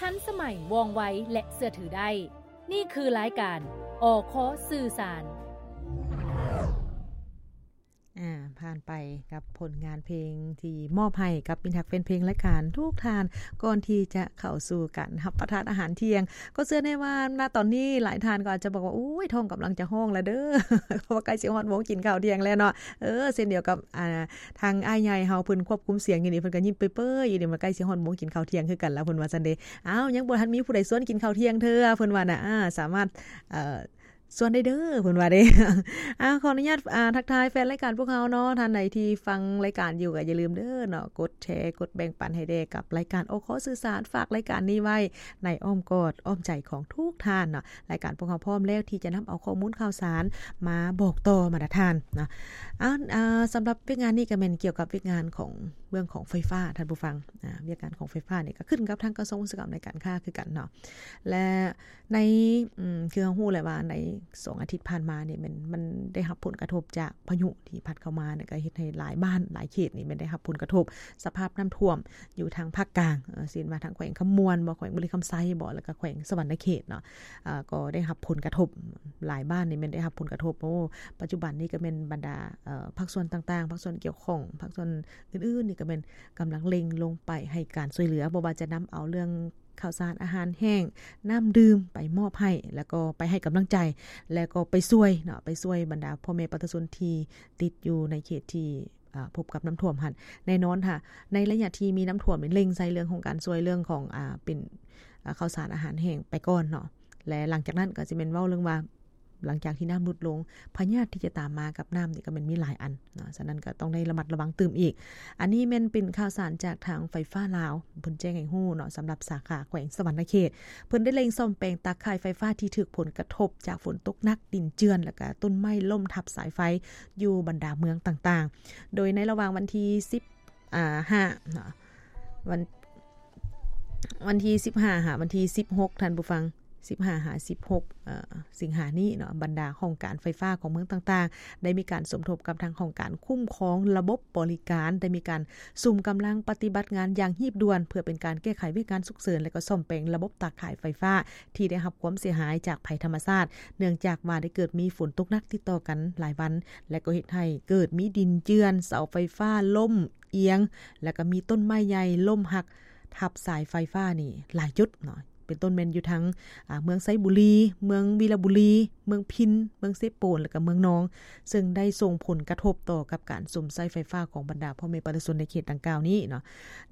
ທັນສະໄໝ, ວ່ອງໄວ ແລະ ເຊື່ອຖືໄດ້. ນີ້ຄືລາຍການ ອຄ ສື່ສານ. ອາ ຜ່ານໄປກັບຜົນງານເພງທີ່ມອບໃຫ້ກັບມິດຮັກແຟນເພງລາຍການທຸກທ່ານ ກ່ອນທີ່ຈະເຂົ້າສູ່ການຮັບປະທານອາຫານທ່ຽງ. ກໍເຊື່ອແນ່ວ່າ ນະ ຕອນນີ້ຫຼາຍທ່ານກໍອາດຈະບອກວ່າ ໂອ້ຍ ທ້ອງກຳລັງຈະຮ້ອງແລ້ວເດີ້ ເພາະວ່າໃກ້ຊິຮອດໂມງກິນເຂົ້າທ່ຽງແລ້ວເນາະ. ເອີ ເຊັ່ນດຽວກັບ ອ່າ ທາງອ້າຍໃຫຍ່ເຮົາ ເພິ່ນຄວບຄຸມສຽງຢູ່ນີ້ ເພິ່ນກໍຍິ້ມເປີຍໆຢູ່ນີ້ ວ່າໃກ້ຊິຮອດໂມງກິນເຂົ້າທ່ຽງຄືກັນແລ້ວ ເພິ່ນວ່າຊັ້ນເດ້. ອ້າວ ຍັງບໍ່ທັນມີຜູ້ໃດຊວນກິນເຂົ້າທ່ຽງເທື່ອ ເພິ່ນວ່ານະ. ອາ ສາມາດ ເອີ ຊວນໄດ້ເດີ້ ເພິ່ນວ່າເດ້. ອາ ຂໍອະນຸຍາດ ອາ ທັກທາຍແຟນລາຍການພວກເຮົາເນາະ, ທ່ານໃດທີ່ຟັງລາຍການຢູ່ກໍຢ່າລືມເດີ້ເນາະ ກົດແຊ ກົດແບ່ງປັນໃຫ້ແດ່ກັບລາຍການ ອຄ ສື່ສານ. ຝາກລາຍການນີ້ໄວ້ໃນອ້ອມກອດອ້ອມໃຈຂອງທຸກທ່ານເນາະ. ລາຍການພວກເຮົາພ້ອມແລ້ວທີ່ຈະນຳເອົາຂໍ້ມູນຂ່າວສານມາບອກຕໍ່ບັນດາທ່ານເນາະ. ເອົາ ອາ ສຳລັບວຽກງານນີ້ກໍແມ່ນກ່ຽວກັບວຽກງານຂອງ ເລື່ອງຂອງໄຟຟ້າ ທ່ານຜູ້ຟັງ. ອາ ວຽກງານຂອງໄຟຟ້ານີ້ກໍຂຶ້ນກັບທາງກະຊວງອຸດສາຫະກຳ ແລະ ການຄ້າຄືກັນເນາະ. ແລະ ໃນ ອືມ ຄືເຮົາຮູ້ແຫຼະວ່າໃນສອງອາທິດຜ່ານມານີ້ ມັນ ມັນໄດ້ຮັບຜົນກະທົບຈາກພາຍຸທີ່ພັດເຂົ້າມານີ້ ກໍເຮັດໃຫ້ຫຼາຍບ້ານຫຼາຍເຂດນີ້ ແມ່ນໄດ້ຮັບຜົນກະທົບສະພາບນ້ຳຖ້ວມຢູ່ທາງພາກກາງ ເຊັ່ນວ່າທາງແຂວງຄຳມ່ວນບໍ ແຂວງບໍລິຄຳໄຊບໍ ແລ້ວກໍແຂວງສະຫວັນນະເຂດເນາະ. ເອີ ກໍໄດ້ຮັບຜົນກະທົບ ຫຼາຍບ້ານນີ້ແມ່ນໄດ້ຮັບຜົນກະທົບ. ໂອ້ ປັດຈຸບັນນີ້ກໍແມ່ນບັນດາ ເອີ ພາກສ່ວນຕ່າງໆ ພາກສ່ວນກ່ຽວຂ້ອງ ພາກສ່ວນອື່ນໆນີ້ກໍແມ່ນກຳລັງເລັ່ງລົງໄປໃຫ້ການຊ່ວຍເຫຼືອ ບໍ່ວ່າຈະນຳເອົາເລື່ອງເຂົ້າສານອາຫານແຫ້ງ ນ້ຳດື່ມໄປມອບໃຫ້ ແລ້ວກໍໄປໃຫ້ກຳລັງໃຈ ແລ້ວກໍໄປຊ່ວຍເນາະ ໄປຊ່ວຍບັນດາພໍ່ແມ່ປະຊາຊົນທີ່ຕິດຢູ່ໃນເຂດທີ່ ອາ ພົບກັບນ້ຳຖ້ວມຫັ້ນ. ແນ່ນອນຖ້າໃນໄລຍະທີ່ມີນ້ຳຖ້ວມນີ້ ເລັ່ງໃສ່ເລື່ອງຂອງການຊ່ວຍເລື່ອງຂອງ ອາ ເປັນ ອາ ເຂົ້າສານອາຫານແຫ້ງໄປກ່ອນເນາະ ແລະ ຫຼັງຈາກນັ້ນກໍຈະແມ່ນເວົ້າເລື່ອງວ່າ ຫຼັງຈາກທີ່ນ້ຳຫຼຸດລົງ ພະຍາດທີ່ຈະຕາມມາກັບນ້ຳນີ້ກໍແມ່ນມີຫຼາຍອັນເນາະ, ສະນັ້ນກໍຕ້ອງໄດ້ລະມັດລະວັງຕື່ມອີກ. ອັນນີ້ແມ່ນເປັນຂ່າວສານຈາກທາງໄຟຟ້າລາວ ເພິ່ນແຈ້ງໃຫ້ຮູ້ເນາະ ສຳລັບສາຂາແຂວງສະຫວັນນະເຂດ ເພິ່ນໄດ້ເລັ່ງສ້ອມແປງຕາຂ່າຍໄຟຟ້າທີ່ຖືກຜົນກະທົບຈາກຝົນຕົກໜັກ, ດິນເຈື່ອນ ແລ້ວກະຕົ້ນໄມ້ລົ້ມທັບສາຍໄຟຢູ່ບັນດາເມືອງຕ່າງໆ. ໂດຍໃນລະຫວ່າງວັນທີສິບ ອາ ຫ້າເນາະ ວັນ ວັນທີສິບຫ້າຫາວັນທີສິບຫົກ ທ່ານຜູ້ຟັງ ສິບຫ້າຫາສິບຫົກ ເອີ ສິງຫານີ້ເນາະ ບັນດາຫ້ອງການໄຟຟ້າຂອງເມືອງຕ່າງໆ ໄດ້ມີການສົມທົບກັບທາງຫ້ອງການຄຸ້ມຄອງລະບົບບໍລິການ ໄດ້ມີການສຸມກຳລັງປະຕິບັດງານຢ່າງຮີບດ່ວນ ເພື່ອເປັນການແກ້ໄຂວຽກງານສຸກເສີນ ແລະ ກໍສ້ອມແປງລະບົບຕາຂ່າຍໄຟຟ້າທີ່ໄດ້ຮັບຄວາມເສຍຫາຍຈາກໄພທຳມະຊາດ ເນື່ອງຈາກວ່າໄດ້ເກີດມີຝົນຕົກໜັກຕິດຕໍ່ກັນຫຼາຍວັນ ແລະ ກໍເຮັດໃຫ້ເກີດມີດິນເຈື່ອນ, ເສົາໄຟຟ້າລົ້ມ ອຽງ ແລ້ວກໍມີຕົ້ນໄມ້ໃຫຍ່ລົ້ມຫັກທັບສາຍໄຟຟ້ານີ້ຫຼາຍຈຸດເນາະ ເປັນຕົ້ນແມ່ນຢູ່ທາງ ອາ ເມືອງໄຊບູລີ, ເມືອງວິລະບູລີ, ເມືອງພິນ, ເມືອງເຊໂປນ ແລ້ວກໍເມືອງນອງ ເຊິ່ງໄດ້ສົ່ງຜົນກະທົບຕໍ່ກັບການຊົມໃຊ້ໄຟຟ້າຂອງບັນດາພໍ່ແມ່ປະຊາຊົນໃນເຂດດັ່ງກ່າວນີ້ເນາະ.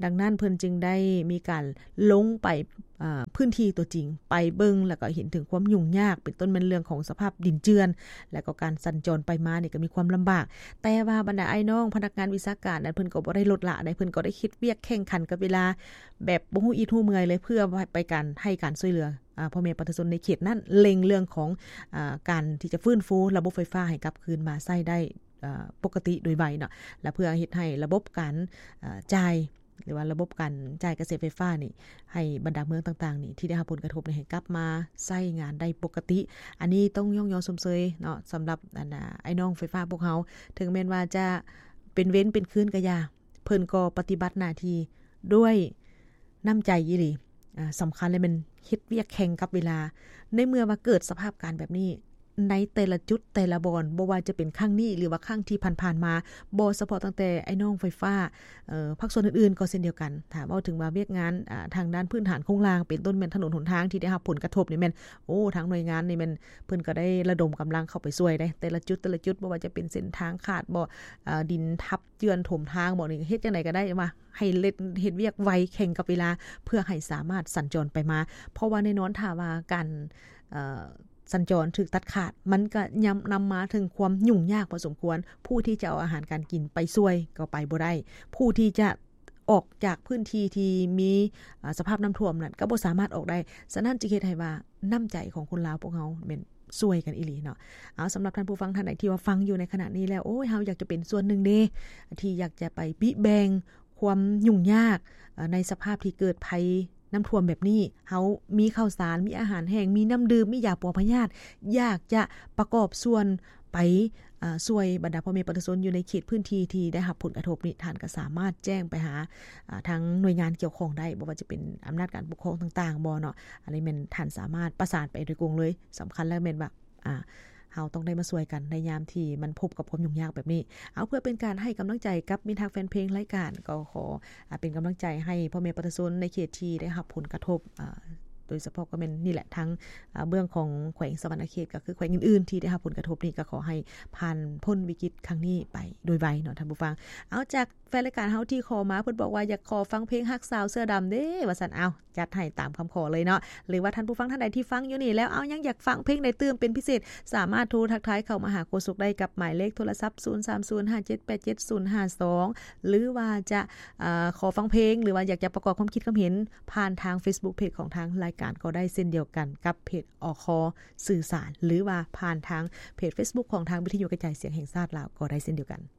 ດັ່ງນັ້ນເພິ່ນຈຶ່ງໄດ້ມີການລົງໄປ ອາ ພື້ນທີ່ຕົວຈິງ ໄປເບິ່ງ ແລ້ວກໍເຫັນເຖິງຄວາມຫຍຸ້ງຍາກ ເປັນຕົ້ນແມ່ນເລື່ອງຂອງສະພາບດິນເຈື່ອນ ແລ້ວກໍການສັນຈອນໄປມານີ້ກໍມີຄວາມລຳບາກ ແຕ່ວ່າບັນດາອ້າຍນ້ອງພະນັກງານວິຊາການນັ້ນ ເພິ່ນກໍບໍ່ໄດ້ລົດລະໃດ ເພິ່ນກໍໄດ້ເຮັດວຽກແຂ່ງຂັນກັບເວລາ ແບບບໍ່ຮູ້ອິດຮູ້ເມື່ອຍເລີຍ ເພື່ອໄປການ ໃຫ້ການຊ່ວຍເຫຼືອ ອາ ພໍ່ແມ່ປະຊາຊົນໃນເຂດນັ້ນ ເລັ່ງເລື່ອງຂອງ ອາ ການທີ່ຈະຟື້ນຟູລະບົບໄຟຟ້າໃຫ້ກັບຄືນມາໃຊ້ໄດ້ ອາ ປົກກະຕິໂດຍໄວເນາະ ແລະ ເພື່ອເຮັດໃຫ້ລະບົບການ ອາ ຈ່າຍ ຫຼືວ່າລະບົບການຈ່າຍກະແສໄຟຟ້ານີ້ ໃຫ້ບັນດາເມືອງຕ່າງໆນີ້ ທີ່ໄດ້ຮັບຜົນກະທົບນີ້ ໃຫ້ກັບມາໃຊ້ງານໄດ້ປົກກະຕິ. ອັນນີ້ຕ້ອງຍ້ອງຍໍຊົມເຊີຍເນາະ ສຳລັບ ອັນ ອາ ອ້າຍນ້ອງໄຟຟ້າພວກເຮົາ ເຖິງແມ່ນວ່າຈະເປັນເວັນເປັນຄືນກໍຢ່າ ເພິ່ນກໍປະຕິບັດໜ້າທີ່ດ້ວຍນ້ຳໃຈອີ່ຫຼີ. ອາ ສຳຄັນເລີຍແມ່ນເຮັດວຽກແຂ່ງກັບເວລາ ໃນເມື່ອວ່າເກີດສະພາບການແບບນີ້ ໃນແຕ່ລະຈຸດແຕ່ລະບ່ອນ ບໍ່ວ່າຈະເປັນຄັ້ງນີ້ ຫຼືວ່າຄັ້ງທີ່ຜ່ານໆມາ ບໍ່ສະເພາະຕັ້ງແຕ່ອ້າຍນ້ອງໄຟຟ້າ ເອີ ພາກສ່ວນອື່ນໆກໍເຊັ່ນດຽວກັນ. ຖ້າເວົ້າເຖິງວ່າວຽກງານ ອາ ທາງດ້ານພື້ນຖານໂຄງລ່າງ ເປັນຕົ້ນແມ່ນຖະໜົນຫົນທາງທີ່ໄດ້ຮັບຜົນກະທົບນີ້ແມ່ນ ໂອ້ ທາງໜ່ວຍງານນີ້ແມ່ນ ເພິ່ນກໍໄດ້ລະດົມກຳລັງເຂົ້າໄປຊ່ວຍເດ້ ແຕ່ລະຈຸດ ແຕ່ລະຈຸດ ບໍ່ວ່າຈະເປັນເສັ້ນທາງຂາດບໍ ອາ ດິນທັບເຈື່ອນຖົມທາງບໍນີ້ ເຮັດຈັ່ງໃດກໍໄດ້ວ່າ ໃຫ້ເຮັດ ເຮັດວຽກໄວແຂ່ງກັບເວລາ ເພື່ອໃຫ້ສາມາດສັນຈອນໄປມາ ເພາະວ່າແນ່ນອນຖ້າວ່າການ ເອີ ສັນຈອນຖືກຕັດຂາດ ມັນກໍຍ່ຳ ນຳມາເຖິງຄວາມຫຍຸ້ງຍາກພໍສົມຄວນ ຜູ້ທີ່ຈະເອົາອາຫານການກິນໄປຊ່ວຍກໍໄປບໍ່ໄດ້ ຜູ້ທີ່ຈະອອກຈາກພື້ນທີ່ທີ່ມີ ອາ ສະພາບນ້ຳຖ້ວມນັ້ນກໍບໍ່ສາມາດອອກໄດ້. ສະນັ້ນຈຶ່ງເຮັດໃຫ້ວ່ານ້ຳໃຈຂອງຄົນລາວພວກເຮົາແມ່ນ ຊ່ວຍກັນອີ່ຫຼີເນາະ. ເອົາ ສຳລັບທ່ານຜູ້ຟັງທ່ານໃດທີ່ວ່າຟັງຢູ່ໃນຂະນະນີ້ແລ້ວ ໂອ້ຍ ເຮົາຢາກຈະເປັນສ່ວນໜຶ່ງເດ້ ທີ່ຢາກຈະໄປປິແບ່ງຄວາມຫຍຸ້ງຍາກ ເອີ ໃນສະພາບທີ່ເກີດໄພນ້ຳຖ້ວມແບບນີ້ ເຮົາມີເຂົ້າສານ ມີອາຫານແຫ້ງ ມີນ້ຳດື່ມ ມີຢາປົວພະຍາດ ຢາກຈະປະກອບສ່ວນໄປ ອາ ຊ່ວຍບັນດາພໍ່ແມ່ປະຊາຊົນຢູ່ໃນເຂດພື້ນທີ່ທີ່ໄດ້ຮັບຜົນກະທົບນີ້ ທ່ານກໍສາມາດແຈ້ງໄປຫາ ອາ ທາງໜ່ວຍງານກ່ຽວຂ້ອງໄດ້ ບໍ່ວ່າຈະເປັນອຳນາດການປົກຄອງຕ່າງໆບໍ່ເນາະ ອັນນີ້ແມ່ນທ່ານສາມາດປະສານໄປໂດຍກົງເລີຍ. ສຳຄັນແລ້ວແມ່ນວ່າ ອາ ເຮົາຕ້ອງໄດ້ມາຊ່ວຍກັນໃນຍາມທີ່ມັນພົບກັບຄວາມຫຍຸ້ງຍາກແບບນີ້. ເອົາ ເພື່ອເປັນການໃຫ້ກຳລັງໃຈກັບມິດຮັກແຟນເພງລາຍການ ກໍຂໍ ອາ ເປັນກຳລັງໃຈໃຫ້ພໍ່ແມ່ປະຊາຊົນໃນເຂດທີ່ໄດ້ຮັບຜົນກະທົບ ອາ ໂດຍສະເພາະກໍແມ່ນນີ້ແຫຼະ ທາງ ອາ ເບື້ອງຂອງແຂວງສະຫວັນນະເຂດ ກໍຄືແຂວງອື່ນໆທີ່ໄດ້ຮັບຜົນກະທົບນີ້ ກໍຂໍໃຫ້ຜ່ານພົ້ນວິກິດຄັ້ງນີ້ໄປໂດຍໄວເນາະທ່ານຜູ້ຟັງ. ເອົາ ຈາກແຟນລາຍການເຮົາທີ່ຂໍມາ ເພິ່ນບອກວ່າຢາກຂໍຟັງເພງຮັກສາວເສື້ອດຳເດ້ ວ່າຊັ້ນ. ເອົາ ຈັດໃຫ້ຕາມຄຳຂໍເລີຍເນາະ ຫຼືວ່າທ່ານຜູ້ຟັງທ່ານໃດທີ່ຟັງຢູ່ນີ້ແລ້ວ ເອົາ ຍັງຢາກຟັງເພງໃດຕື່ມເປັນພິເສດ ສາມາດໂທທັກທາຍເຂົ້າມາຫາໂຄສົກໄດ້ກັບໝາຍເລກໂທລະສັບ ສູນສາມສູນຫ້າເຈັດແປດເຈັດສູນຫ້າສອງ ຫຼືວ່າຈະ ເອີ ຂໍຟັງເພງ ຫຼືວ່າຢາກຈະປະກອບຄວາມຄິດຄວາມເຫັນ ຜ່ານທາງເຟສບຸກເພຈຂອງທາງລາຍການກໍໄດ້ເຊັ່ນດຽວກັນກັບເພຈ ອຄ ສື່ສານ ຫຼືວ່າຜ່ານທາງເພຈເຟສບຸກຂອງທາງວິທະຍຸກະຈາຍສຽງແຫ່ງຊາດລາວກໍໄດ້ເຊັ່ນດຽວກັນ.